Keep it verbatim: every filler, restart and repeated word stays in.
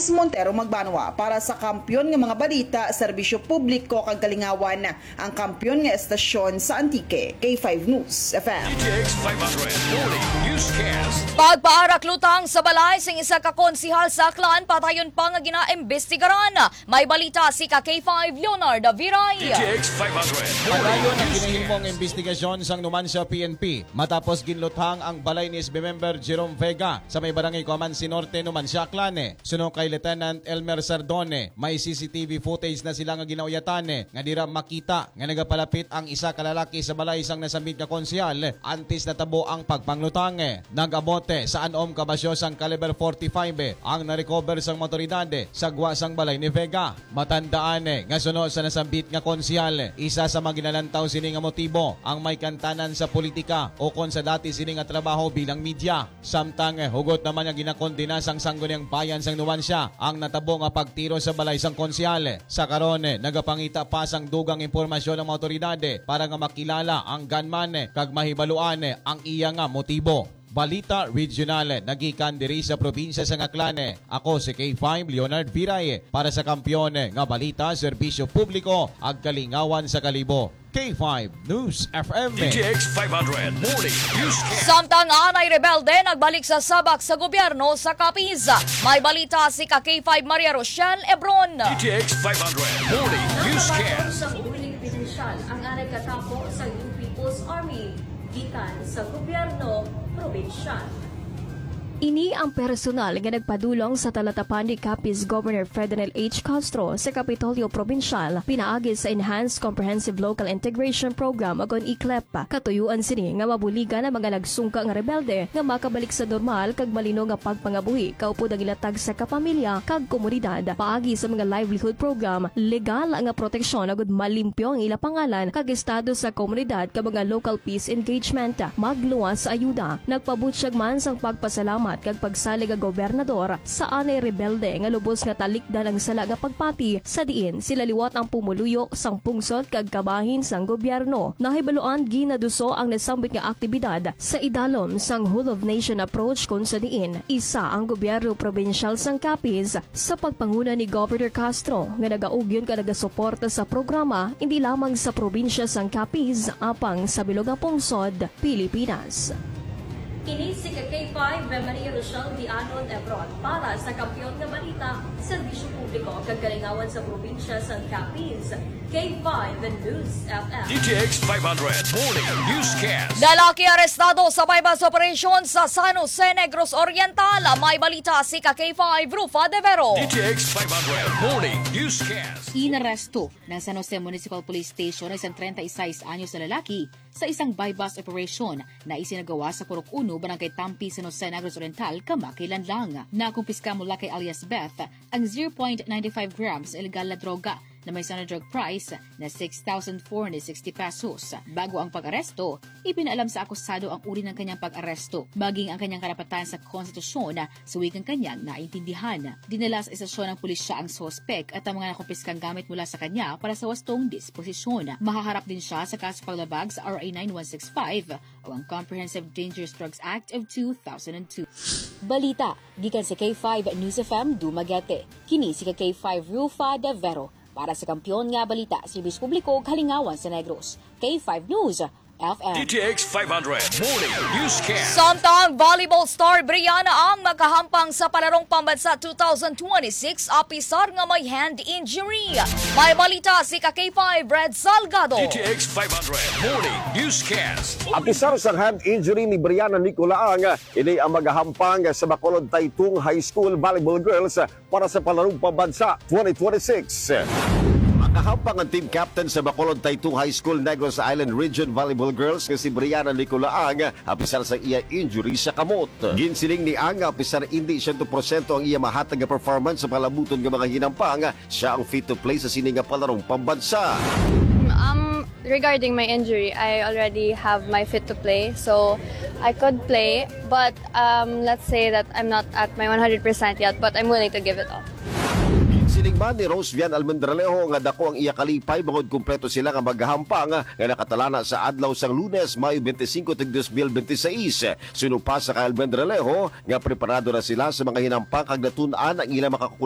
Montero Magbanwa para sa kampiyon nga mga balita, serbisyo publiko kag kalingawan, ang kampiyon nga estasyon sa Antique, K five News F M. D T X five hundred Morning Newscast. Pagpaarak lutang sa balay sing isa ka konsihal sa Aklan, padayon pa nga ginaimbestigaran. May balita si ka K five Leonard Viray. D T X five hundred Morning Padayon ang Newscast. Ginahimong imbestigasyon sang Numancia P N P matapos ginluthang ang balay ni S B member Jerome Vega sa may barangay Cuamansi Norte, Numancia, Aklan. Suno kay Lieutenant Elmer Sardone, may C C T V footage na sila nga ginauyatan nga dira makita nga nagapalapit ang isa ka lalaki sa balay sang nasambit nga konsehal antes natabo ang pagpanglutang. Nag-abot sa anom ka basyo sang caliber forty-five ang na-recover sang mga otoridad sa gwa sang balay ni Vega. Matandaan nga suno sa nasambit nga konsehal, isa sa mga ginalantaw sini nga motibo ang may kantanan sa politika ukon sa dati sini nga trabaho bilang media. Samtang hugot naman nga ginakondena sang Sangguniang Bayan sang Numancia ang natabo nga pagtiro sa balay sang konsehal. Sa karon, nagapangita pa sang dugang impormasyon ang mga otoridad para nga makilala ang gunman kag mahibaluan ang iya nga motibo. Balita Regional nagikan diri sa probinsya sang Aklan. Ako si K five Leonard Viray para sa Kampiyon nga Balita, Serbisyo Publiko, ag Kalingawan sa Kalibo. K five News F M. D T X five hundred Morning Newscast. Samtang anay rebelde nagbalik sa sabak sa gobyerno sa Capiz. May balita si ka K five Maria Rochelle Ebron. D T X five hundred Morning Newscast. Sa buhiling pinansyal ang anay katapo sa New People's Army gikan sa gobyerno probinsyal. Ini ang personal nga nagpadulong sa talatapan ni Capiz Governor Ferdinand H. Castro sa Kapitolyo Probinsyal pinaagi sa Enhanced Comprehensive Local Integration Program, o kon E C L I P. Katuyuan sini nga mabuligan ang mga nagsungka nga rebelde nga makabalik sa normal kag malino nga pagpangabuhi kaupod ang ilatag sa kapamilya kag komunidad paagi sa mga livelihood program, legal nga proteksyon agud malimpyo ang ila pangalan kag estado sa komunidad kag mga local peace engagement. Magluwas sa ayuda. Nagpabutyag man sang pagpasalamat kag pagsalig ang gobernador sa anay rebelde nga lubos nga talikdan ang sala nga pagpati sa diin sila liwat ang pumuluyo sang pungsod kag kabahin sang gobyerno. Nahibaluan ginaduso ang nasambit nga aktibidad sa idalom sang whole of nation approach, kon sa diin isa ang gobyerno probinsyal sang Capiz sa pagpanguna ni Governor Castro nga nagaugyon kag nagasuporta sa programa indi lamang sa probinsya sang Capiz apang sa bilog nga pungsod Pilipinas. Kini si ka K five Maria Rochelle Dianon Ebron para sa Kampiyon nga Balita, Serbisyo Publiko kag Kalingawan sa Probinsya sang Capiz, K five News F M. D T X five hundred Morning Newscast. Lalaki arestado sa buy-bust operation sa San Jose, Negros Oriental. May balita si ka K five Rufa De Vero. D T X five hundred Morning Newscast. Inaresto ng San Jose Municipal Police Station ang isang treinta y seis anyos na lalaki sa isang buy-bust operation na isinagawa sa Purok Uno, Barangay Tampi, San Jose, Negros Oriental, kamakailan lang. Nakumpiska mula kay alias Beth ang zero point nine five grams na illegal na droga na may standard drug price na six thousand four hundred sixty pesos. Bago ang pag-aresto, ipinaalam sa akusado ang uri ng kanyang pag-aresto, maging ang kanyang karapatan sa konstitusyon sa wikang kanyang naintindihan. Dinala sa istasyon ng pulisya ang suspek at ang mga nakumpiskang gamit mula sa kanya para sa wastong disposisyon. Mahaharap din siya sa kaso paglabag sa R A nine one six five o ang Comprehensive Dangerous Drugs Act of two thousand two. Balita gikan sa K five News F M Dumaguete. Kini si ka K five Rufa De Vero para sa Kampiyon nga Balita, Serbisyo Publiko, Kalingawan sa Negros. K five News F M. D T X five hundred Morning Newscast. Samtang volleyball star Brianna Ang makahampang sa Palarong Pambansa two thousand twenty-six, apisar nga may hand injury. May balita si ka K five Red Salgado. D T X five hundred Morning Newscast. Apisar sa hand injury ni Brianna Nicolaang, ini ang magahampang sa Bacolod Taytong High School Volleyball Girls para sa Palarong Pambansa twenty twenty-six. Makahampang ang team captain sa Bacolod Taytong High School, Negros Island Region Volleyball Girls nga si Brianna Nicolaang, apisar sa iya injury sa kamot. Ginsiling ni Ang nga apisar indi siyento porsyento ang iya mahatag nga performance sa palabuton nga mga hinampang, siya ang fit to play sa sini nga Palarong Pambansa. Um, regarding my injury, I already have my fit to play, so I could play. But, um, let's say that I'm not at my one hundred percent yet, but I'm willing to give it all. Siling man ni Rose Vian Almendralejo nga dako ang iya kalipay bangod kumpleto sila nga magahampang nga nakatalana sa adlaw sang Lunes, Mayo twenty-five, tuig dos mil benti seis. Suno pa sa kay Almendralejo nga preparado na sila sa mga hinampang kag natun-an ang ilang makakukulang